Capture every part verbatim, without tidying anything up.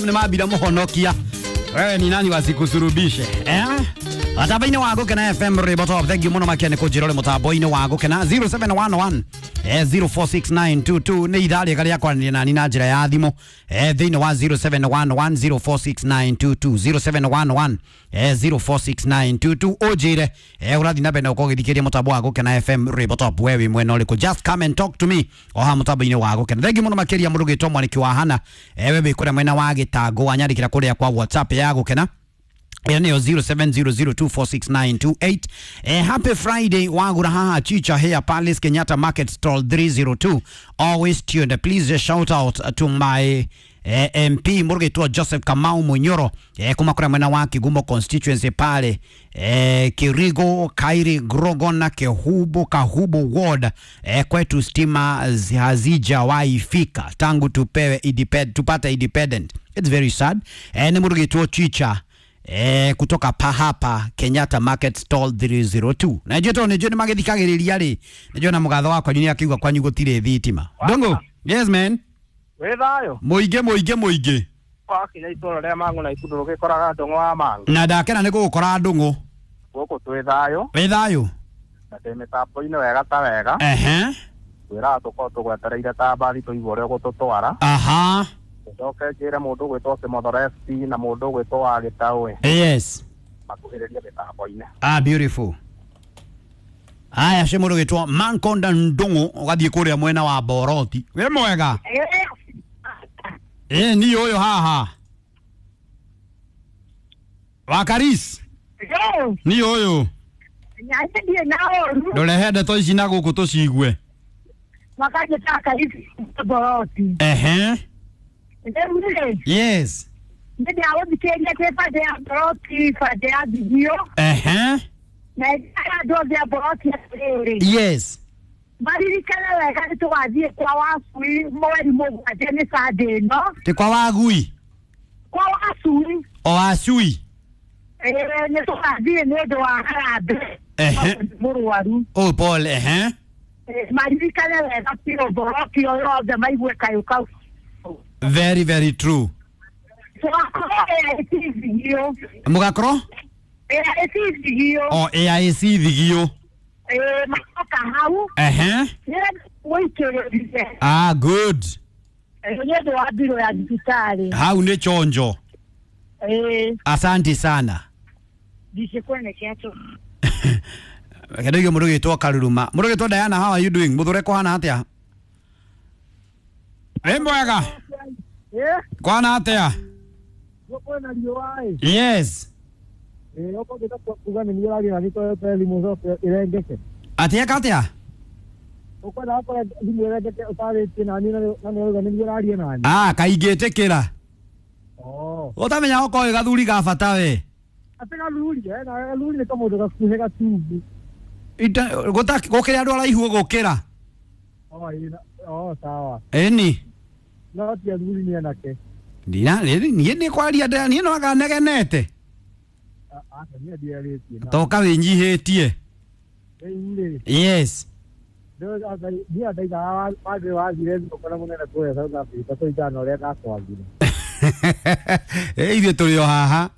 Nĩ mambira mũhonokia, wewe ni nani wasikusurubishe, eh? Mũtambo-inĩ wa Gũkena F M, rwĩmbo top. Thank you mũno makĩria nĩ kũnjĩra ũrĩ mũtambo-inĩ wa Gũkena. zero seven one one eh, zero four six nine two two nĩ ithaa rĩega rĩa kwaranĩria nani na njĩra ya thimũ eh, thĩinĩ wa zero seven one one zero four six nine two two, zero seven one one eh, zero four six nine two two, ũnjĩre eh, ũrathiĩ na mbere na gũkorwo ũgĩthikĩrĩria mũtambo wa Gũkena F M, rwĩmbo top, we wĩ mwena ũrĩkũ? Just come and talk to me o haha mũtambo-inĩ wa Gũkena. Thank you mũno makĩria mũndũ ũgĩtwo Mwaniki wa Hana, eh, we wĩ kũrĩa mwena wa Gĩtangũ, wanyandĩkĩra kũrĩa kwa WhatsApp ya Gũkena, ĩyo nĩyo zero seven zero zero two four six nine two eight. Eh, happy Friday wagura haha Chicha here, Palace, Kenyatta Market stall three zero two, always tuned. Please uh, shout out to my eh, M P mũrũgĩtwo Joseph Kamau Munyoro eh, kuma kũrĩa mwena wa Kigumo constituency pale eh, Kirigo Kairi Grogona Kehubo Kahubo ward. eh, kwetu stima hazijawahi fika tangu tupewe independ, tupate independent. It's very sad. eh, nĩ mũrũgĩtwo Chicha eh, kutoka pahapa Kenyatta Market stall three zero two. Na njũĩ tondũ nĩnjũĩ nĩ magĩthikagĩrĩria rĩ, nĩnjũĩ na mũgatho wakwa nĩ akiuga kwanyu gũtirĩ thitima. Ndũngũ, yes man. Wĩ thayũ? Mũingĩ, mũingĩ, mũingĩ. Wakinya itũra rĩa Mang'u na Ikudu rũgĩkoraga ndũng'ũ wa Mang'u. Na ndakena nĩ gũgũkora, ndũng'ũ. Gũkũ twĩ thayũ. Wĩ thayũ? Na ndĩ mĩtambo-inĩ wega ta wega. Ehe. Twĩraga tũkorwo tũgwetereire ta mbathi tũigue ũrĩa ũgũtũtwara. Aha. Njoke njĩre mũndũ ũgwĩtwo Kĩmothoro F C na mũndũ ũgwĩtwo wa Gĩtaũ yes makuhĩrĩrie mĩtambo-inĩ. Ah, beautiful. Aya, cio mũndũ gĩtwo Mankonda Ndũng'ũ, ũgathiĩ kũrĩa mwena wa Boroti. Wĩ mwega? Ĩ ni ũyũ haha Wakaris ni ũyũ. Nyandiĩ na ũru. Ndũrehe ndeto ici na gũkũ tũcigue. Makanjĩta Karisi Boroti. Ehe. Rĩu rĩ, yes nĩ ndagũthikĩrĩria kwĩ bande ya Boroti, bande ya Thigio, ehe na ĩndĩra andũ othe a Boroti atĩrĩrĩ, yes maririkane wega nĩ tũgathiĩ kwa Wacui mweri mũgwanja, nĩ Sunday ĩno. Ti kwa Wagui? Kwa Wacui. O Acui. Ĩĩ, nĩ tũgathiĩ nĩ ũndũ wa harambee Ehe. mũrwaru. Oh, Paul, ehe. Ĩĩ, maririkane wega biũ, Boroti o yothe maigue kayũ kau. Very very true. Tũgakorwo A I C Thigio. Mũgakorwo A I C Thigio. O A I C Thigio. Ĩĩ, macoka hau ehe nĩgetha gũikĩrĩrie. Ah, good. Nĩ ũndũ wa mbirũ ya thibitarĩ. Hau nĩ chonjo. Ĩĩ. Asante sana. Ndicikweneketwo. Kendo mũndũ gĩtwo Karuruma, mũndũ gĩtwo Diana, how are you doing? Mũthũre kũhana atĩa? Wĩ mwega? Kwana atĩa? Kwĩna riũa ĩ. Yes. Ĩ okorwo ngĩta kuga nĩ niĩ ũraria na nĩ thimũ coke ĩrengeke. Atĩ eka atĩa? Ũkwenda gakora thimũ ĩrengeke ũtarĩtie nani na nĩ ũrauga nĩ niĩ ũraria nani. Ah, kaingĩtĩkĩra. Oh. Ũtamenya okorwo wĩ gathuri ga bata we. Atĩ gathuri, eh, na gathuri nĩ kamũndũ gakuhĩ gatungu. Ita- gũta- gũkĩrĩ andũ araihu gũkĩra. Oh, ĩ na- oh, sawa. Ĩni. No ti athuri, nĩ anake. Ndina niĩ nĩ kwaria ndĩ- niĩ no anga negenete. Aca, niĩ ndiarĩtie na. Toka wĩnyihĩtie. Rĩu rĩ, Yes. niĩ ndaigaga wangĩ wathire thigũkũ na mũnene kũrĩa South Africa kũringana na ũrĩa ndakwagire. Ĩ ithuĩ tũrĩ o haha.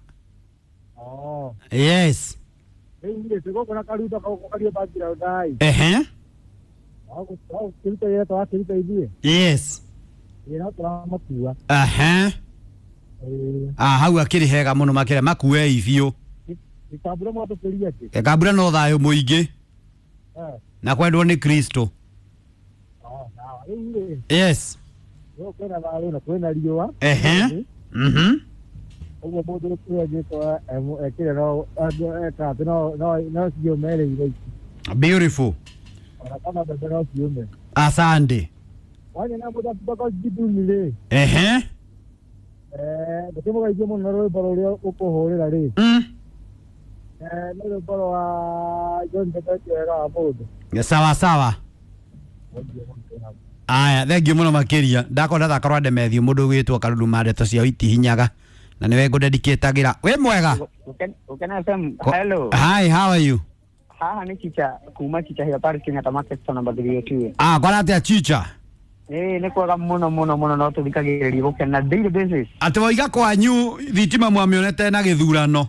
Oh. Yes. Rĩu rĩ, twĩ gũkũ na karuta kario background ai. Ehe. Kĩruta wĩra tũrakĩruta ithuĩ. Yes. Ĩ no tũramakua. Ehe. Ĩĩ. Ah, hau akĩrĩ hega mũno makĩria makuei biũ. Gĩkambura mwatũkĩria kĩ? Kambura no thayũ mũingĩ Eh. na kwendwo nĩ Kristo. Oh, sawa. Rĩu rĩ, Yes. gũkũ kwĩna thayũ na kwĩna riũa. Ehe. Mhm. Ũguo mũndũ ũrĩa angĩkorwo ekĩre no eka atĩ no no no ciũme rĩu ici. Beautiful. Ona kana mbembe no ciũme. Asante. Wanyona mũthaki Jiduni rĩ, Ehe. eh, ndũkĩmũgeithie mũno na rwĩmbo rũrĩa ũkũhũrĩra rĩ. Mm. Eh, nĩ rwĩmbo rwa John Mbete, wega wa mũndũ. Sawa sawa. Aya, thengiũ mũno makĩria. Ndakorwo ndathaka rwa Ndemethio, mũndũ ũgwĩtwo Karuruma, ndeto ciao itihinyaga na nĩwe ngũdedicatagĩra. Wĩ mwega? Ukena F M, Ko- hello. Hi, how are you? Haha nĩ Chicha kuma Chicha here Paris, Kenyatta Market store number three zero two. Ah, kwara atĩa, Chicha? Ĩĩ nĩ kwega mũno mũno mũno no tũthikagĩrĩria gũkena daily basis. Atĩ waiga kwanyu thitima mwamĩonete na gĩthurano.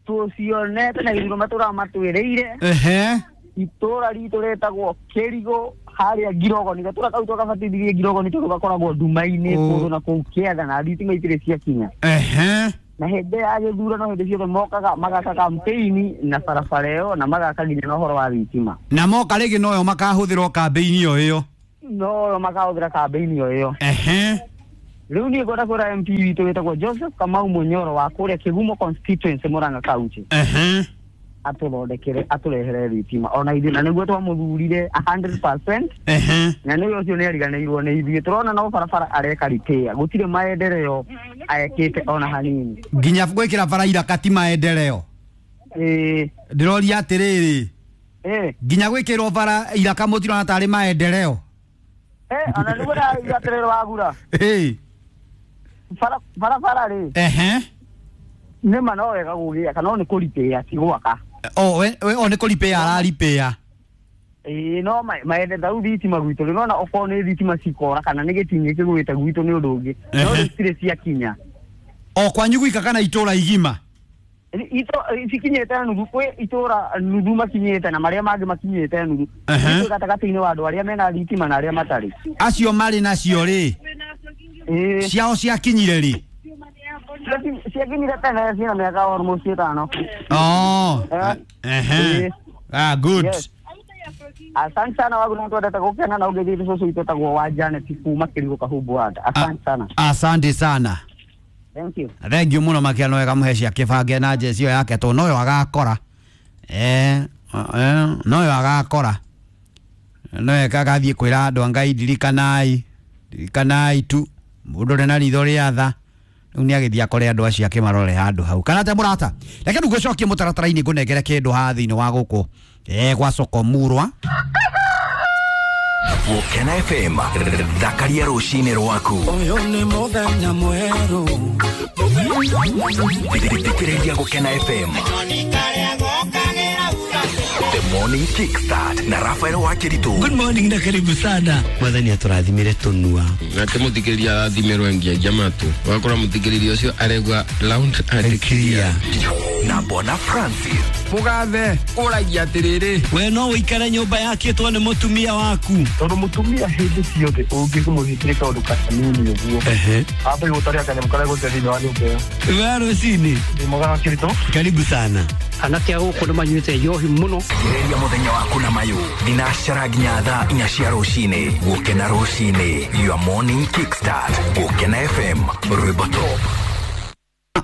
Tũcionete na gĩthurano matũraga matwĩrĩire. Ehe. Itũra ritũ rĩtagwo Kĩrigũ harĩa Ngirogoni, gatũra kau twakabatithirie Ngirogoni tondũ gakoragwo nduma-inĩ kũndũ na kũu kĩanda na thitima itirĩ ciakinya. Ehe. Na hĩndĩ ya gĩthurano hĩndĩ ciothe mokaga magaka campaign na barabara ĩyo na magaka nginya na ũhoro wa thitima. Na moka rĩngĩ noyo makahũthĩrwo kambĩini o ĩyo. Noyo makahũthĩra kambĩini o ĩyo. Ehe. Rĩu niĩ ngwenda kwĩra M P witũ wĩtagwo Joseph Kamau Munyoro wa kũrĩa Kĩgumo constituency Murang'a County. Ehe. Atũthondekere atũrehere thitima ona ithuĩ na nĩguo twamũthurire a hundred percent. Ehe. Na nĩwe ũcio nĩ ariganĩirwo nĩ ithuĩ tũrona no barabara areka repair gũtirĩ maendeleo ekĩte ona hanini. Nginya gwĩkĩra bara iraka ti maendeleo. Ĩĩ. Ndĩroria atĩrĩrĩ. Ĩĩ. Nginya gwĩkĩrwo bara iraka mũtirona tarĩ maendeleo. Eh, ona nĩguo ndĩrauga atĩrĩrĩ wagura. Ĩĩ. Bara barabara rĩ. Ehe. Nĩma no wega gũgĩaka no nĩ kũripĩa ti gwaka. O we o nĩ kũripĩa araripĩa. Ĩĩ no maende rĩu thitima gwitũ rĩ nona okorwo nĩ thitima cikora kana nĩ gĩtingĩ kĩgwĩte gwitũ nĩ ũndũ ũngĩ no citirĩ ciakinya. O kwanyu gwika kana itũra igima? Ito cikinyĩte nuthu kwĩ itũra nuthu makinyĩte na marĩa mangĩ makinyĩte nuthu. Twĩ gatagatĩ-inĩ wa andũ arĩa mena thitima na arĩa matarĩ. Acio marĩ nacio rĩ? Ĩĩ. Ciao ciakinyire rĩ? Ciakinyire tene ciĩna mĩaka almost ĩtano. Oh. Ehe. Ah, good. Yes. Asante sana wagu na twendete gũkena na ũngĩthiĩ cũcũ witũ etagwo wa Janet kuma Kĩrigũ Kahumbu Ward. Asante sana. Asante sana. Thank you. Thank you muno makia no wega muhe cia kĩbange na jeci ĩyo yake tondũ noyo agakora. Eh, eh, noyo agakora. Noyo agathiĩ kwĩra andũ a Ngai ndirikanai, ndirikanai tu mũndũ ũrĩ na ritho rĩa tha. Rĩu nĩ agĩthiĩ akore andũ acio akĩmarore handũ hau. Kana te mũrata. Reke rĩu ngũcokie mũtaratara-inĩ ngũnengere kĩndũ haha thĩinĩ wa gũkũ. Eh, gwa soko murwa. Gũkena F M thakaria rũcinĩ rwaku. Ũyũ nĩ mũthenya mwerũ. Thikĩrĩria Gũkena F M. The Morning Kickstart na Rafael Wakiritu. Good morning na karibu sana. Mwathani atũrathimire tũnua. Nake mũthikĩrĩria arathimirwo ngiagia matũ. Wakora mũthikĩrĩria ũcio aregwa loud and clear. Na Bona Francis. Mugathe ũragia atĩrĩrĩ. We no ũikare nyũmba yakĩtwo nĩ mũtumia waku. Tondũ mũtumia hĩndĩ ciothe ũngĩkũmũhĩtĩria kaũndũ kanini ũguo. Ehe. Ambe gũtaria kanyamũ karĩa gũte thĩinĩ wa nyũmba ĩyo. We rũcinĩ. Ndĩ mwega Wakiritu. Karibu sana. Anake a gũkũ nĩ manyuĩte njohi mũno. Ĩrĩria mũthenya waku na mayũ. Thinacara nginya thaa inya cia rũcinĩ. Gũkena rũcinĩ. Your morning kickstart. Gũkena F M. Rwĩmbo top.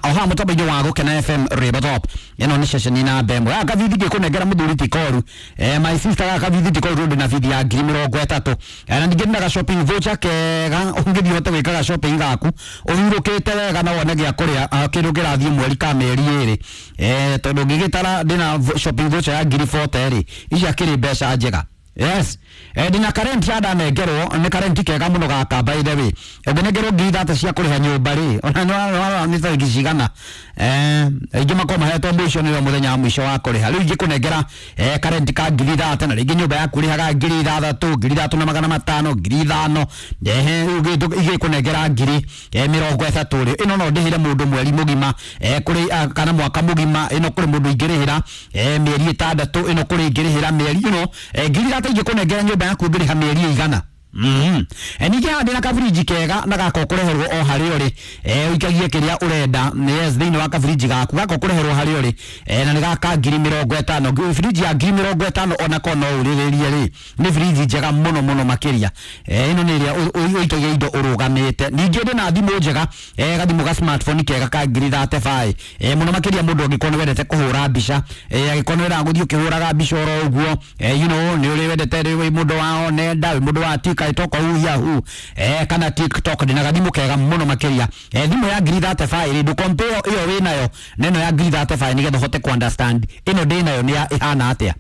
Oha mutambo-inĩ wa Gũkena F M Rwĩmbo top. Ĩno nĩ ceceni namba ĩmwe. Gaka bithi ngĩkũnengera mũthuri ti koru. Eh, my sister gaka bithi ti koru ndĩ na bithi ya ngiri mĩrongo ĩtatũ. Eh, na ningĩ ndĩ na ga shopping voucher kega ũngĩthiĩ ũhote gwĩka ga shopping gaku ũhurũkĩte wega na wone gĩa kũrĩa kĩndũ kĩrathiĩ mweri ka mĩeri ĩrĩ. Eh, tondũ ngĩgĩtara ndĩna shopping voucher ya ngiri forty rĩ, icio akĩrĩ mbeca njega. Yes. Eh, ndina current ya ndanengerwo nĩ current kega mũno gaka by the way. Ũngĩnengerwo ngiri ithatũ cia kũrĩha nyũmba rĩ, ona nĩ nĩ tarĩki cigana. Eh, aingĩ makorwo mahetwo mũico nĩyo mũthenya wa mũico wa kũrĩha. Rĩu ingĩkũnengera eh current ka ngiri ithatũ na rĩngĩ nyũmba yaku ũrĩhaga ngiri ithathatũ, ngiri ithatũ na magana matano, ngiri ithano. Ehe, rĩu igĩkũnengera ngiri eh mĩrongo ĩtatũ rĩ. Ĩno no ndĩhĩre mũndũ mweri mũgima eh kũrĩ kana mwaka mũgima, ĩno kũrĩ mũndũ ingĩrĩhĩra eh mĩeri ĩtandatũ, ĩno kũrĩ ingĩrĩhĩra mĩeri ĩno eh ngiri ithatũ ingĩkũnengera nyũmba yaku ũngĩrĩha mĩeri ĩigana. Mhm. E ningĩ haha ndĩna kabirinji kega na gaka ũkũreherwo o harĩa ũrĩ. Eh ũikagie kĩrĩa ũrenda. Yes, thĩinĩ wa kabirinji gaku gaka ũkũreherwo harĩa ũrĩ. Eh na nĩ gaka ngiri mĩrongo ĩtano. Birinji ya ngiri mĩrongo ĩtano onako no ũrĩrĩrie rĩ. Nĩ birinji njega mũno mũno makĩria. Eh ĩno nĩ ĩrĩa ũikagia indo ũrũgamĩte. Ningĩ ndĩna thimũ njega, eh gathimũ ga smartphone kega ka ngiri thate baĩ. Eh mũno makĩria mũndũ angĩkorwo nĩ wendete kũhũra mbica. Eh angĩkorwo nĩ wendaga gũthiĩ ũkĩhũraga mbica oro ũguo. Eh you know nĩ ũrĩ wendete rĩ wĩ mũndũ wa nenda, wĩ mũndũ wa TikTok hu Yahoo eh kana TikTok ndina gathimũ kega mũno makĩria. Eh thimũ ya ngiri thate baĩ rĩ ndũ compare ĩyo wĩ nayo na ĩno ya ngiri thate baĩ nĩgetha ũhote ku understand ĩno ndĩ nayo nĩ ĩhana atĩa.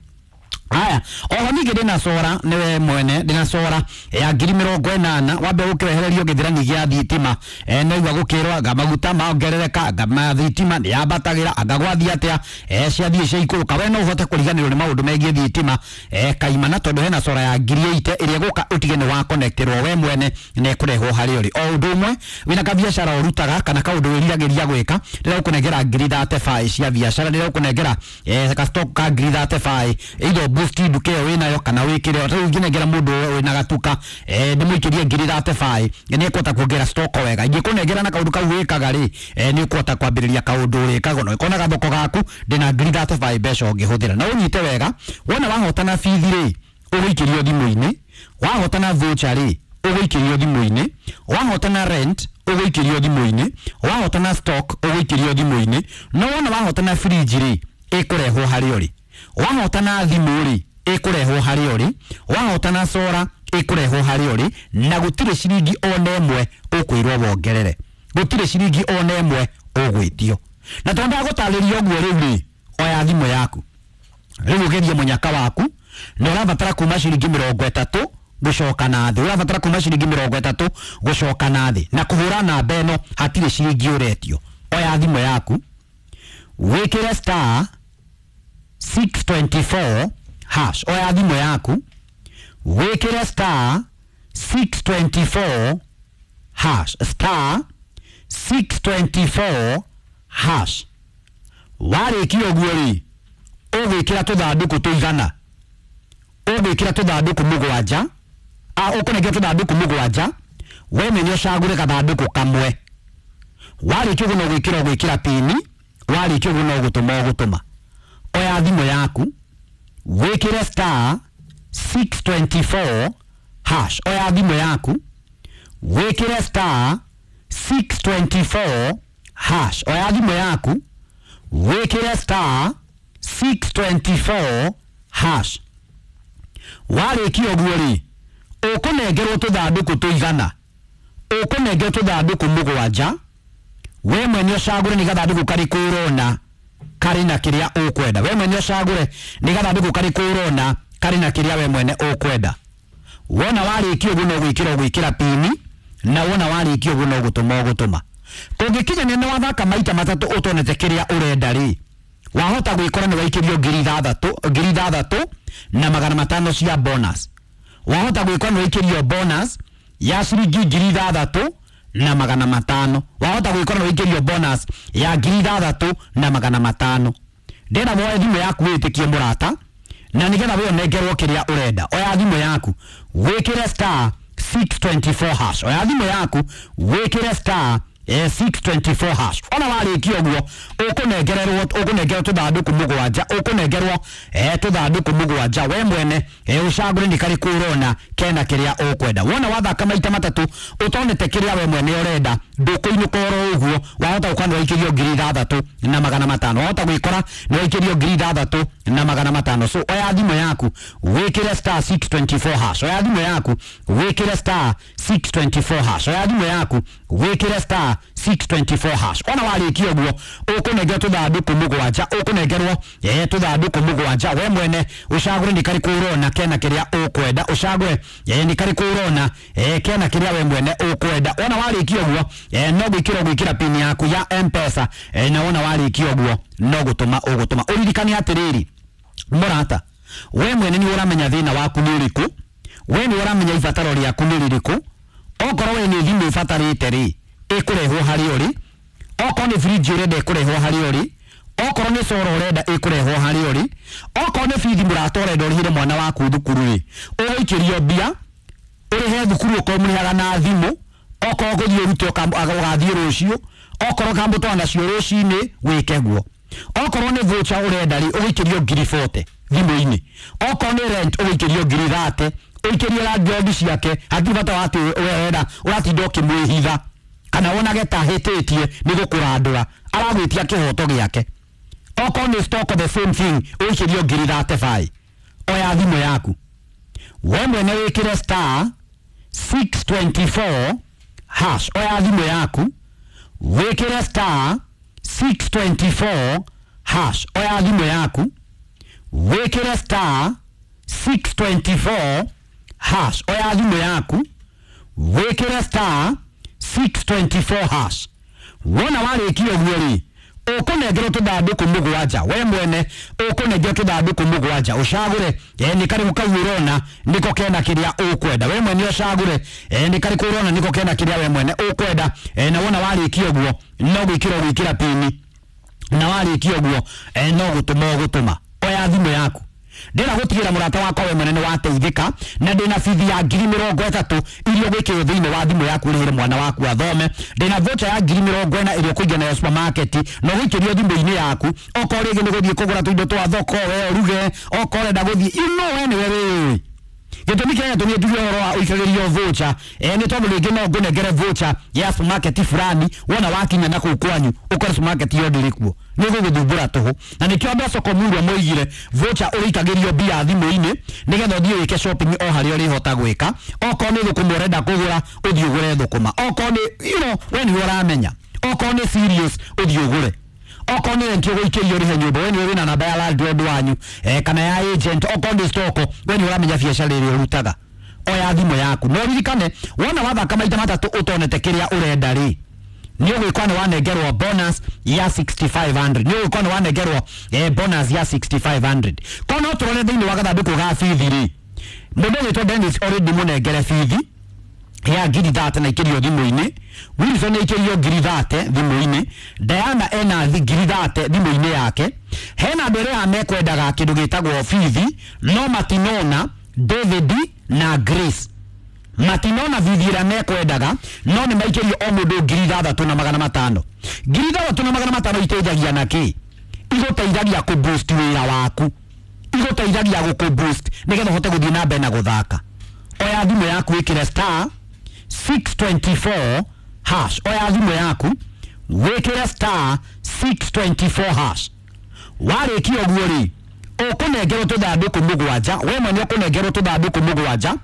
Aya, oho ningĩ ndĩna cora nĩwe mwene ndĩna cora ya ngiri mĩrongo ĩnana wambe ũkĩwehererio gĩthirani gĩa thitima e, naigua gũkĩrwo anga maguta maongerereka anga ma thitima nĩ yambatagĩra anga gwathiĩ atĩa e, ciathiĩ ciaikũrũka we no ũhote kũriganĩrwo nĩ maũndũ megiĩ thitima e, kaimana tondũ hena cora ya ngiri ĩite ĩrĩa ĩgũka ũtige nĩ wa connectĩrwo we mwene na ĩkũrehwo harĩa ũrĩ. O ũndũ ũmwe wĩna kabiacara ũrutaga kana kaũndũ wĩriragĩria gwĩka ndĩragũkũnengera ngiri thate baĩ cia biacara ndĩragũkũnengera eh, ka stock ka ngiri thate baĩ either boost nduka ĩyo wĩnayo kana wĩkĩre rĩu ingĩnengera mũndũ wĩna gatuka eh, ndĩmũikĩrie ngiri thate baĩ nĩ ekũhota kuongerera stock wega ingĩkũnengera na kaũndũ kau wĩkaga rĩ eh, nĩ ũkũhota kwambĩrĩria kaũndũ ũrĩkaga na ũkona gathoko gaku ndĩna ngiri thate baĩ mbeca ũngĩhũthĩra na ũnyite wega wona wahotana bithi rĩ ũgũikĩrio thimũ-inĩ wahotana voucher rĩ ũgũikĩrio thimũ-inĩ wahotana rent ũgũikĩrio thimũ-inĩ wahotana stock ũgũikĩrio thimũ-inĩ no wona wahotana fridge rĩ ĩkũrehwo harĩa ũrĩ wahotana thimũ rĩ ĩkũrehwo harĩa ũrĩ wahotana sora ĩkũrehwo harĩa ũrĩ na gũtirĩ ciringi ona ĩmwe ũkwĩrwo wongerere gũtirĩ ciringi ona ĩmwe ũgwĩtio na tondũ ndagũtarĩria ũguo rĩu rĩ oya thimũ yaku rĩu ũgerie mũnyaka waku na ũrabatara kuma ciringi mĩrongo ĩtatũ gũcoka na thĩ ũrabatara kuma ciringi mĩrongo ĩtatũ gũcoka na thĩ na kũhũra namba ĩno hatirĩ ciringi ũretio oya thimũ yaku wĩkĩre star six twenty-four hash oya thimũ yaku wĩkĩre star six twenty-four hash star six twenty-four hash warĩkia ũguo rĩ ũgwĩkĩra tũthandũkũ tũigana ũgwĩkĩra tũthandũkũ mũgwanja a ũkũnengera tũthandũkũ mũgwanja we mwene ũcagũre gathandũkũ kamwe warĩkia ũguo no gwĩkĩra ũgwĩkĩra pini warĩkia ũguo no gũtũma ũgũtũma oya thimũ yaku wĩkĩre star six twenty-four hash oya thimũ yaku wĩkĩre star six twenty-four hash oya thimũ yaku wĩkĩre star six twenty-four hash warĩkia ũguo rĩ ũkũnengerwo tũthandũkũ tũigana ũkũnengerwo tũthandũkũ mũgwanja we mwene ũcagũre nĩ gathandũkũ karĩkũ ũrona karĩ na kĩrĩa ũkwenda we mwene ũcagũre nĩ gathandũkũ karĩkũ ũrona karĩ na kĩrĩa we mwene ũkwenda wona warĩkia ũguo no gwĩkĩra ũgwĩkĩra pini na wona warĩkia ũguo no gũtũma ũgũtũma kũngĩkinya nĩ wathaka maita matatũ ũtonete kĩrĩa ũrenda rĩ wahota gwĩkora nĩ waikĩrio ngiri ithathatũ ngiri ithathatũ na magana matano cia bonus wahota gwĩkora nĩ waikĩrio bonus ya ciringi ngiri ithathatũ na magana matano wahota gwĩkora nĩ waikĩrio bonus ya ngiri ithathatũ na magana matano ndĩrenda woe thimũ yaku wĩtĩkie mũrata na nĩgetha we ũnengerwo kĩrĩa ũrenda oya thimũ yaku wĩkĩre star six twenty-four hash oya thimũ yaku wĩkĩre star eh, six twenty-four hash ona warĩkia ũguo ũkũnengererwo ũkũnengerwo tũthandũkũ mũgwanja ũkũnengerwo eh, tũthandũkũ mũgwanja we mwene eh, ũcagũre nĩ karĩkũ ũrona kena kĩrĩa ũkwenda wona wathaka maita matatũ ũtonete kĩrĩa we mwene ũrenda ndũkũinũka oro ũguo wahota gũkorwo nĩ waikĩrio ngiri ithathatũ na magana matano wahota gwĩkora nĩ waikĩrio ngiri ithathatũ na magana matano so oya thimũ yaku wĩkĩre star six twenty-four hash oya thimũ yaku wĩkĩre star six twenty-four hash oya thimũ yaku wĩkĩre star six twenty-four hash ona warĩkia ũguo ũkũnengerwo tũthandũkũ mũgwanja ũkũnengerwo eh, tũthandũkũ mũgwanja we mwene ũcagũre nĩ karĩkũ ũrona kena kĩrĩa ũkwenda ũcagũre eh, nĩ karĩkũ ũrona eh, kena kĩrĩa we mwene ũkwenda ona warĩkia ũguo eh, no gwĩkĩra ũgwĩkĩra pini yaku ya M-Pesa eh, na wona warĩkia ũguo no gũtũma ũgũtũma ũririkane atĩrĩrĩ mũrata we mwene nĩ ũramenya thĩna waku nĩ ũrĩkũ we nĩ ũramenya ibataro rĩaku nĩ rĩrĩkũ okorwo we nĩ thimũ ũbatarĩte rĩ ĩkũrehwo harĩa ũrĩ okorwo nĩ fridge ũrenda ĩkũrehwo harĩa ũrĩ okorwo nĩ coro ũrenda ĩkũrehwo harĩa ũrĩ okorwo nĩ bithi mũrata ũrenda ũrĩhĩre mwana waku thukuru rĩ ũgũikĩrio mbia ũrĩhe thukuru okorwo mũrĩhaga na thimũ okorwo ũgũthiĩ ũrute ũgathiĩ rũciũ okorwo ũkamũtwara nacio rũcinĩ wĩke guo okorwo nĩ voucher ũrenda rĩ ũgũikĩrio ngiri forty thimũ-inĩ okorwo nĩ rent ũgũikĩrio ngiri thate ũikĩrie landlord ciake hatirĩ bata wa atĩ ũrenda ũratinda ũkĩmwĩhitha kana wonage ta hĩtĩtie nĩ gũkũrandũra aragwĩtia kĩhoto gĩake okorwo nĩ stock the same thing ũikĩrio ngiri thate baĩ oya thimũ yaku we mwene wĩkĩre star six twenty-four hash oya thimũ yaku wĩkĩre star six twenty-four hash oya thimũ yaku wĩkĩre star six twenty-four hash. Oya thimũ yaku wĩkĩre star six twenty-four hash. Wona warĩkia ũguo rĩ, ũkũnengerwo tũthandũkũ mũgwanja, we mwene ũkũnengerwo tũthandũkũ mũgwanja, ũcagũre eh, nĩ karĩkũ kau ũrona nĩko kena kĩrĩa ũkwenda. We mwene ũcagũre eh, nĩ karĩkũ ũrona nĩko kena kĩrĩa we mwene ũkwenda. eh, na wona warĩkia ũguo no gwĩkĩra ũgwĩkĩra pini, na warĩkia ũguo eh, no gũtũma ũgũtũma. Oya thimũ yaku, ndĩra gũtigĩra mũrata wakwa we mwene nĩ wateithĩka, na ndĩna bithi ya ngiri mĩrongo ĩtatũ iria ũgwĩkĩrwo thĩinĩ wa thimũ yaku ũrĩhĩre mwana waku athome. Ndĩna voucher ya ngiri mĩrongo ĩna ĩrĩa ũkũiga nayo supermarket na ũgũikĩrio thimũ-inĩ yaku. Okorwo rĩngĩ nĩ gũthiĩ kũgũra tũindo twa thoko we ũruge, okorwo ũrenda gũthiĩ, you know we nĩwe wĩũĩ gĩtũmi kĩrĩa gĩatũmire njuge ũhoro wa ũikagĩrio voucher eh, nĩ tondũ rĩngĩ no ngũnengere voucher ya supermarket fulani, wona wakinya na kũu kwanyu ũkore supermarket iyo ndĩrĩ kuo, nĩ gũgũthumbũra tũhũ. Na nĩkĩo andũ a soko murwa moigire voucher ũrĩikagĩrio mbia thimũ-inĩ nĩgetha ũthiĩ wĩke shopping o harĩa ũrĩhota gwĩka. Okorwo nĩ thũkũma ũrenda kũgũra, ũthiĩ ũgũre thũkũma. Okorwo nĩ you know, we nĩwe ũramenya. Okorwo nĩ serious, ũthiĩ ũgũre. Okorwo nĩ rent ũgũikĩrio ũrĩhe nyũmba, we nĩwe wĩna namba ya landlord wanyu eh, kana ya agent. Okorwo nĩ stock, we nĩwe ũramenya biacara ĩrĩa ũrutaga. Oya thimũ yaku no ririkane, wona wathaka maita matatũ ũtonete kĩrĩa ũrenda rĩ, nĩ ũgwĩkwa nĩ wanengerwo bonus ya sixty-five hundred. Nĩ ũgwĩkwa nĩ wanengerwo eh, bonus ya sixty-five hundred. Ko no tũrore thĩinĩ wa gathandũkũ ga bithi rĩ, mũndũ ũgwĩtwo Dennis already mũnengere bithi ya ngiri thate na ikĩrio thimũ-inĩ. Wilson aikĩrio ngiri thate thimũ-inĩ. Diana ena ngiri thate thimũ-inĩ yake. Hena andũ arĩa mekwendaga kĩndũ gĩtagwo bithi no matinona David na Grace matinona bithi ĩrĩa mekwendaga, no nĩ maikĩrio o mũndũ ngiri ithathatũ na magana matano. Ngiri ithathatũ na magana matano iteithagia na kĩ? Igũteithagia kũ boost wĩra waku, igũteithagia gũkũ boost nĩgetha ũhote gũthiĩ na mbere na gũthaka. Oya thimũ yaku wĩkĩre star six twenty-four hash. Oya thimũ yaku wĩkĩre star six twenty-four hash. Warĩkia ũguo rĩ, ũkũnengerwo tũthandũkũ mũgwanja, we mwene ũkũnengerwo tũthandũkũ mũgwanja,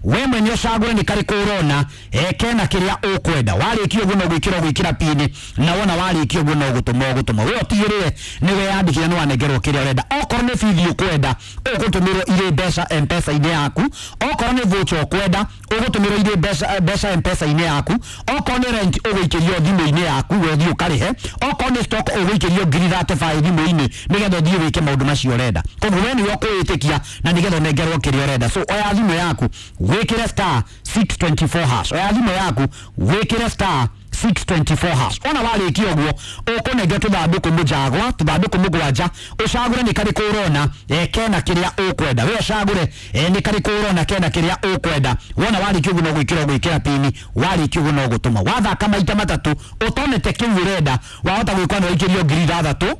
we mwene ũcagũre nĩ karĩkũ ũrona eh, kena kĩrĩa ũkwenda. Warĩkia ũguo no gwĩkĩra ũgwĩkĩra pini, na wona warĩkia ũguo no gũtũma ũgũtũma. We ũtigĩrĩre nĩ weyandĩkithia nĩ wanengerwo kĩrĩa ũrenda. Okorwo nĩ bithi ũkwenda, ũgũtũmĩrwo irĩ mbeca M-Pesa-inĩ yaku. Okorwo nĩ voucher ũkwenda, ũgũtũmĩrwo irĩ mbeca mbeca M-Pesa-inĩ yaku. Okorwo nĩ rent ũgũikĩrio thimũ-inĩ yaku, we ũthiĩ ũkarĩhe. Okorwo nĩ stock ũgũikĩrio ngiri thirty-five thimũ-inĩ nĩgetha ũthiĩ wĩke maũndũ macio ũrenda. Koguo we nĩwe ũkwĩĩtĩkia na nĩgetha ũnengerwo kĩrĩa ũrenda. So oya thimũ yaku wĩkĩre star six twenty-four hash. Oya thimũ yaku wĩkĩre star six twenty-four hash. Ona warĩkia ũguo ũkũnengera tũthandũkũ mũjagwa, tũthandũkũ mũgwanja, ũcagũre nĩ karĩkũ ũrona eh, kena kĩrĩa ũkwenda. We ũcagũre eh, nĩ karĩkũ ũrona kena kĩrĩa ũkwenda. Wona warĩkia ũguo no gwĩkĩra ũgwĩkĩra pini, warĩkia ũguo no gũtũma. Wathaka maita matatũ ũtonete kĩu ũrenda, wahota gwĩkwa nĩ waikĩrio ngiri ithathatũ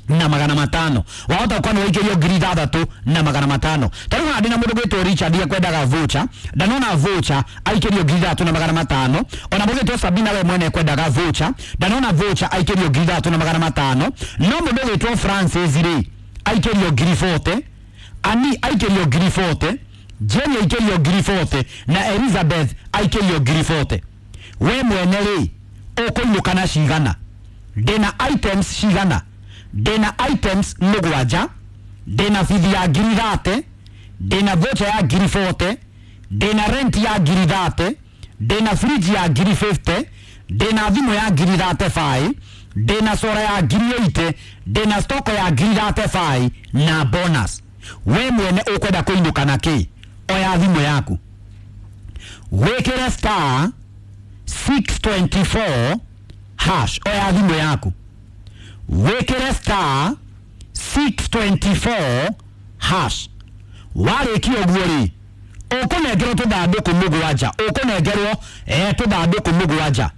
na magana matano. Wahota gũkorwo nĩ waikĩrio ngiri ithathatũ na magana matano. Ta rĩu haha ndĩna mũndũ gwĩtwo Richard ekwendaga voucher, ndanona voucher aikĩrio ngiri ithathatũ na magana matano. Ona mũndũ gwĩtwo Sabina we mwene ekwendaga voucher, ndanona voucher aikĩrio ngiri ithathatũ na magana matano. No mũndũ gwĩtwo Francis rĩ aikĩrio ngiri forty, Ani aikĩrio ngiri forty, Jenny aikĩrio ngiri forty na Elizabeth aikĩrio ngiri forty. We mwene rĩ ũkũinũka na cigana? Ndĩna items cigana? Ndĩna items mũgwanja, ndĩna bithi ya ngiri thate, ndĩna voucher ya ngiri forty, ndĩna rent ya ngiri thate, ndĩna fridge ya ngiri fifty, ndĩna thimũ ya ngiri thirty-five, ndĩna sora ya ngiri eighty, ndĩna stock ya ngiri thirty-five na bonus. We mwene ũkwenda kũinũka na kĩ? Oya thimũ yaku wĩkĩre star six twenty-four hash. Oya thimũ yaku wĩkĩre star six twenty-four hash. Warĩkia ũguo rĩ, ũkũnengerwo tũthandũkũ mũgwanja, ũkũnengerwo eh, tũthandũkũ mũgwanja,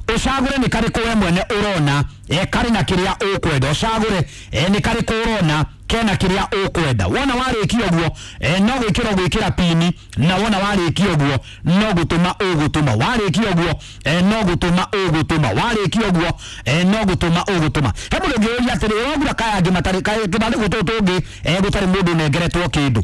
ũcagũre nĩ karĩkũ we mwene ũrona eh, karĩ na kĩrĩa ũkwenda. Ũcagũre eh, nĩ karĩkũ ũrona kena kĩrĩa ũkwenda. Wona warĩkia ũguo eh, no gwĩkĩra ũgwĩkĩra pini, na wona warĩkia ũguo no gũtũma ũgũtũma. Warĩkia ũguo eh, no gũtũma ũgũtũma. Warĩkia ũguo eh, no gũtũma ũgũtũma. He mũndũ ũngĩũria atĩrĩ, ũragura kaya angĩ matarĩ tũthandũkũ tũtũ tũngĩ eh, gũtarĩ mũndũ ũnengeretwo kĩndũ?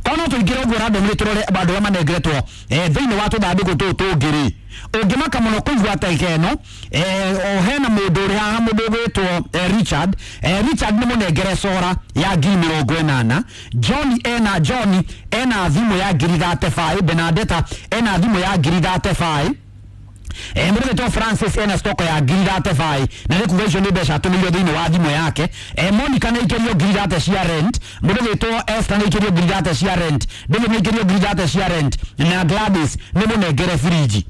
Kono tũingĩre ũguo randomly tũrore andũ arĩa manengeretwo eh, thĩinĩ wa tũthandũkũ tũtũ tũngĩ rĩ, ũngĩmaka mũno kũigua ta ĩno eh, o hena mũndũ Mũndũ ũrĩ haha, mũndũ ũgwĩtwo eh, Richard, eh, Richard nĩ mũnengere cora ya ngiri mĩrongo ĩnana. John ena John ena thimũ ya ngiri thirty-five. Benadetta ena thimũ ya ngiri thirty-five. Eh, mũndũ Francis ena stoko ya ngiri thirty-five, na nĩ kuga icio nĩ mbeca atũmĩirio thĩinĩ wa thimũ yake. Eh, Monica nĩ aikĩrio ngiri thirty cia rent. Mũndũ wĩtwo Esther nĩ aikĩrio ngiri thirty cia rent. David nĩ aikĩrio ngiri thirty cia rent. Na Gladys nĩ mũnengere friji.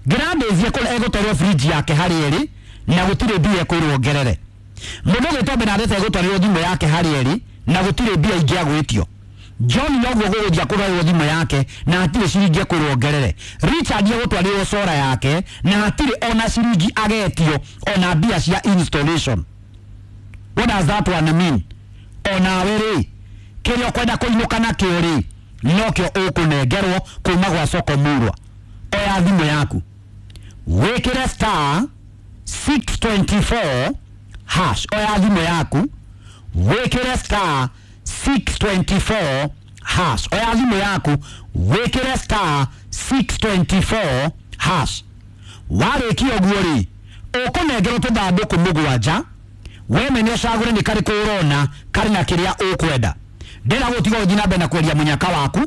Gladys egũtwarĩrwo friji yake harĩ ĩrĩ na gũtirĩ mbia ekwĩrwo ongerere. Mũndũ wĩtwo Benadetta egũtwarĩrwo thimũ yake harĩ ĩrĩ na gũtirĩ mbia ingĩ agwĩtio. John noguo gũgũthia kũrorwo thimũ yake na hatirĩ ciringi ekwĩrwo ongerere. Richard egũtwarĩrwo cora yake na hatirĩ ona ciringi agetio ona mbia cia installation. What does that one mean? Onawe rĩ, kĩrĩa ũkwenda kũinũka nakĩo rĩ, nokĩo ũkũnengerwo kuma gwa Soko Murwa. Oya thimũ yaku, wĩkĩre star six twenty-four hash. Oya thimũ yaku, wĩkĩre star six twenty-four hash. Oya thimũ yaku, wĩkĩre star six twenty-four hash. Warĩkia ũguo rĩ, ũkũnengerwo tũthandũkũ mũgwanja, we mene ũcagũre nĩ karĩkũ ũrona karĩ na kĩrĩa ũkwenda. Ndĩra gũtiga ũthiĩ na mbere na kwendia mũnyaka waku.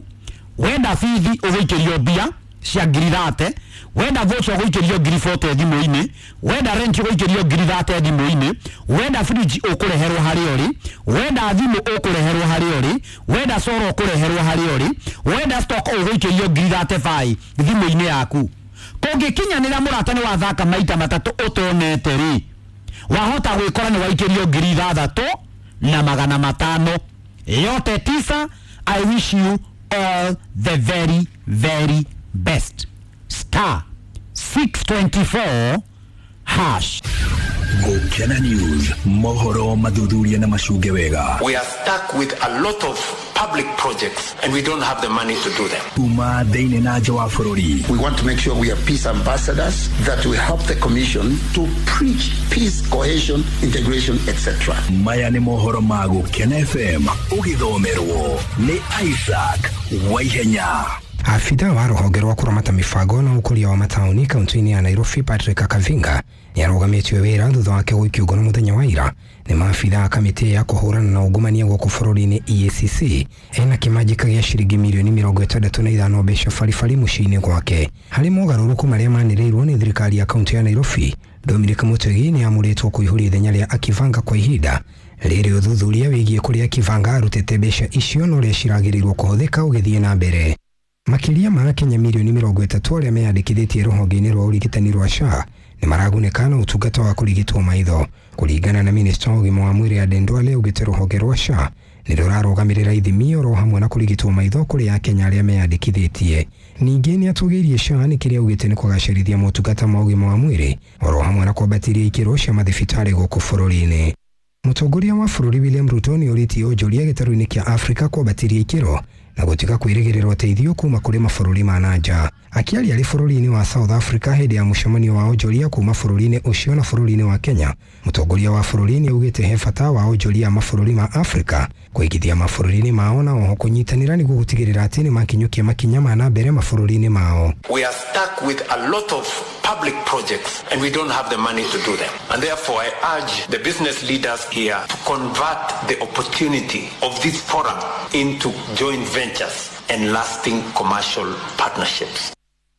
Wenda bithi ũgũikĩrio mbia cia ngiri thate, wenda voucher ũgũikĩrio ngiri forty thimũ-inĩ, wenda rent ũgũikĩrio ngiri thate thimũ-inĩ, wenda fridge ũkũreherwo harĩa ũrĩ, wenda thimũ ũkũreherwo harĩa ũrĩ, wenda soro ũkũreherwo harĩa ũrĩ, wenda stock ũgũikĩrio ngiri thirty-five thimũ-inĩ yaku. Kũngĩkinyanĩra mũrata nĩ wathaka maita matatũ ũtonete rĩ, wahota gwĩkora nĩ waikĩrio ngiri ithathatũ na magana matano. Yote tisa. I wish you all the very very best. Star six twenty-four hash. Gukena News, mohoro mathuthuria na macunge wega. We are stuck with a lot of public projects and we don't have the money to do them. Kuma thĩinĩ na nja wa bũrũri. We want to make sure we are peace ambassadors, that we help the commission to preach peace, cohesion, integration, et cetera. Maya nĩ mohoro ma Gukena F M ũgĩthomerwo nĩ Isaac Waihenya. Afitha wa rũhonge rwa kũramata mĩbango na ũkũria wa mataũni kaunti-inĩ ya Nairobi Patrick Kavinga nĩarũgamĩtio wĩra thutha wake gũikio ngono mũthenya wa ira nĩ maabitha a kamĩtĩ ya kũhũrana na ungumania gũkũ bũrũri-inĩ E A C C ena kĩmanjĩka gĩa ciringi mirioni mĩrongo ĩtandatũ na ithano mbeca baribari mũciĩ-inĩ gwake. Harĩ mogarũrũku marĩa manĩrĩirwo nĩ thirikari ya kaunti ya Nairobi, Dominic Mutegi nĩamũrĩtwo kũihũria ithenya rĩa Akivanga kwa ihinda rĩrĩ ũthuthuria wĩgiĩ kũrĩa Akivanga arutĩte mbeca icio na ũrĩa ciragĩrĩirwo kũhũthĩka ũgĩthiĩ na mbere. Makĩria ma Akenya mirioni mĩrongo ĩtatũ arĩa meyandĩkithĩtie rũhonge-inĩ rwa ũrigitani rwa S H A nĩ maragunĩka na ũtungata wa kũrigitwo maitho. Kũringana na minista wa ũgima wa mwĩrĩ Aden Duale, augĩte rũhonge rwa S H A nĩ rũrarũgamĩrĩra ithimi oro hamwe na kũrigitwo maitho kũrĩ Akenya arĩa meyandĩkithĩtie. Ningĩ nĩ atũgĩirie S H A nĩ kĩrĩa augĩte nĩ kũgacĩrithia motungata ma ũgima wa mwĩrĩ oro hamwe na kwambatĩria ikĩro cia mathibitarĩ gũkũ bũrũri-inĩ. Mũtongoria wa bũrũri William Ruto nĩ orĩtie onjoria gĩtarũ-inĩ kĩa Afrika kwambatĩria ikĩro na gũtiga kwĩrĩgĩrĩra ũteithio kuma kũrĩ mabũrũri ma na nja. Akĩaria arĩ bũrũri-inĩ wa South Africa hĩndĩ ya mũcemanio wa onjoria kuma bũrũri-inĩ ũcio na bũrũri-inĩ wa Kenya, mũtongoria wa bũrũri nĩ augĩte he bata wa onjoria a mabũrũri ma Afrika kũigithia mabũrũri-inĩ mao na oho kũnyitanĩra nĩguo gũtigĩrĩra atĩ nĩ makinyũkia makinya ma na mbere mabũrũri-inĩ mao. We are stuck with a lot of public projects and we don't have the money to do them. And therefore I urge the business leaders here to convert the opportunity of this forum into joint ventures and lasting commercial partnerships.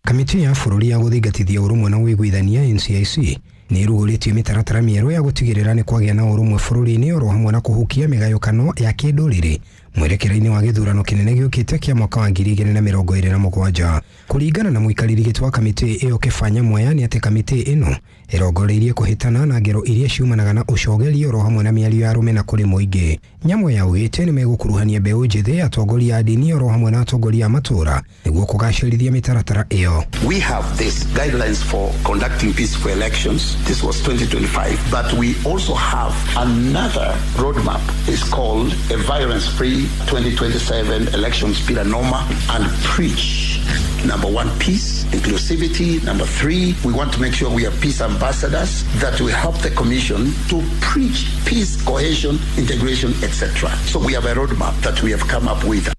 Kamĩtĩ ya bũrũri ya gũthingatithia ũrũmwe na ũiguithania N C I C nĩ ĩrugũrĩtie mĩtaratara mĩerũ ya gũtigĩrĩra nĩ kwagĩa na ũrũmwe bũrũri-inĩ oro hamwe na kũhukia mĩgayũkano ya kĩndũrĩrĩ mwerekera-inĩ wa gĩthurano kĩnene gĩũkĩte kĩa mwaka wa ngiri igĩrĩ na mĩrongo ĩrĩ na mũgwanja. Kũringana na mũikarĩri gĩtĩ wa kamĩtĩ ĩyo Kĩba Nyamweya nĩ atĩ kamĩtĩ ĩno ĩrongoreirie kũhĩtana na ngero iria ciumanaga na ũcogeri oro hamwe na mĩario ya rũmena kũrĩ mũingĩ. Nyamweya augĩte nĩ megũkuruhania mbeũ njĩthĩ, atongoria a ndini oro hamwe na atongoria a matũũra nĩguo kũgacĩrithia mĩtaratara ĩyo. We have these guidelines for conducting peaceful elections. This was twenty twenty-five, but we also have another roadmap. It's called a violence-free twenty twenty-seven elections bila noma, and preach. Number one, peace, inclusivity. Number three, we want to make sure we are peace ambassadors, that we help the commission to preach peace, cohesion, integration, et cetera. So we have a roadmap that we have come up with.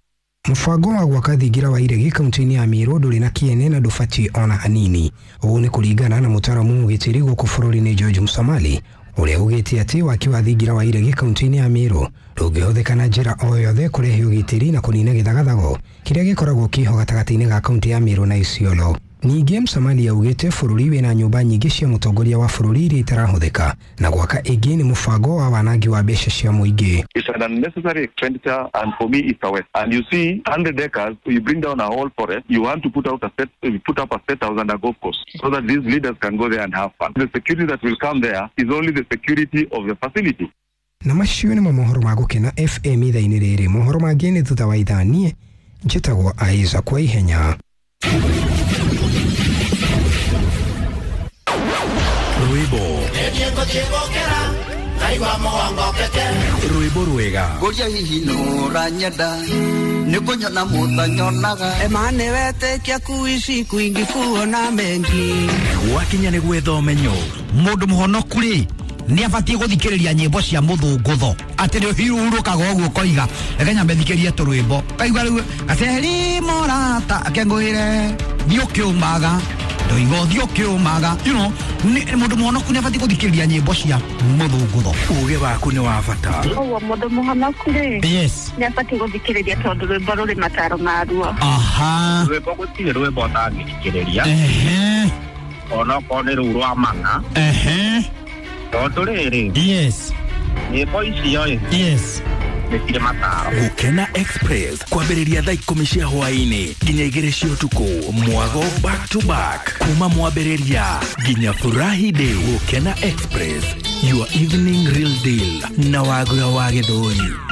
Mũbango wa gwaka thingira wa iregi kaunti-inĩ ya Meru ndũrĩ na kĩene na ndũbatiĩ ona hanini. Ũũ nĩ kũringana na mũtaaramu ũgitĩri gũkũ bũrũri-inĩ George Musamali, ũrĩa ugĩte atĩ waki wa thingira wa iregi kaunti-inĩ ya Meru ndũngĩhũthĩka na njĩra o yothe kũrehe ũgitĩri na kũnina gĩthagathago kĩrĩa gĩkoragwo kĩho gatagatĩ-inĩ ga kaunti ya Meru na Isiolo. Ningĩ Musamali augĩte bũrũri wĩna nyũmba nyingĩ cia mũtongoria wa bũrũri iria itarahũthĩka na gwaka ĩngĩ nĩ mũbango wa wanangi wa mbeca cia mũingĩ. It's an unnecessary expenditure, and for me it's a waste. And you see, one hundred acres, you bring down a whole forest, you want to put out a set, you put up a set house and a golf course so that these leaders can go there and have fun. The security that will come there is only the security of the facility. Na macio nĩmo mohoro ma Gũkena F M ithaa-inĩ rĩrĩ. Mohoro mangĩ nĩ thutha wa ithaa. Niĩ njĩtagwo Isaac kwa ihenya. Rwĩmbo rwĩmbo rwega ngũria hihi nũranyenda nĩkũnyona mũtanyonaga emane wetĩkia kuici kwingi kuona mengi gwakinya nĩ gwetha ũmenyo. Mũndũ mũhonoku rĩ nĩ abatiĩ gũthikĩrĩria nyĩmbo cia mũthũngũtho atĩ nĩ ũhurũkaga ũguo ũkoiga reke nyambe thikĩrie tũrwĩmbo kaigua rĩu gaceri mũrata akengũĩre thiĩ ũkĩũmaga ndoiga ũthiĩ ũkĩũmaga, you know, mũndũ mũhonoku nĩ abatiĩ gũthikĩrĩria nyĩmbo cia mũthũngũtho. Ũgĩ waku nĩ wa bata. Ũguo mũndũ mũhonoku rĩ, yes, nĩ abatiĩ gũthikĩrĩria tondũ rwĩmbo rũrĩ mataro maruo. Aha, rwĩmbo gũtirĩ rwĩmbo ũtangĩthikĩrĩria, ehe, onokorwo nĩ rũu rwa mana, ehe, tondũ rĩrĩ, yes, nyĩmbo icio ĩ, yes, nĩ mataro. Gũkena Express kwambĩrĩria thaa ikũmi cia hwaĩ-inĩ nginya igĩrĩ cia ũtukũ, mwago back to back kuma mwambĩrĩria nginya furahi day. Gũkena Express, your evening real deal na Wagura wa Gĩthũri.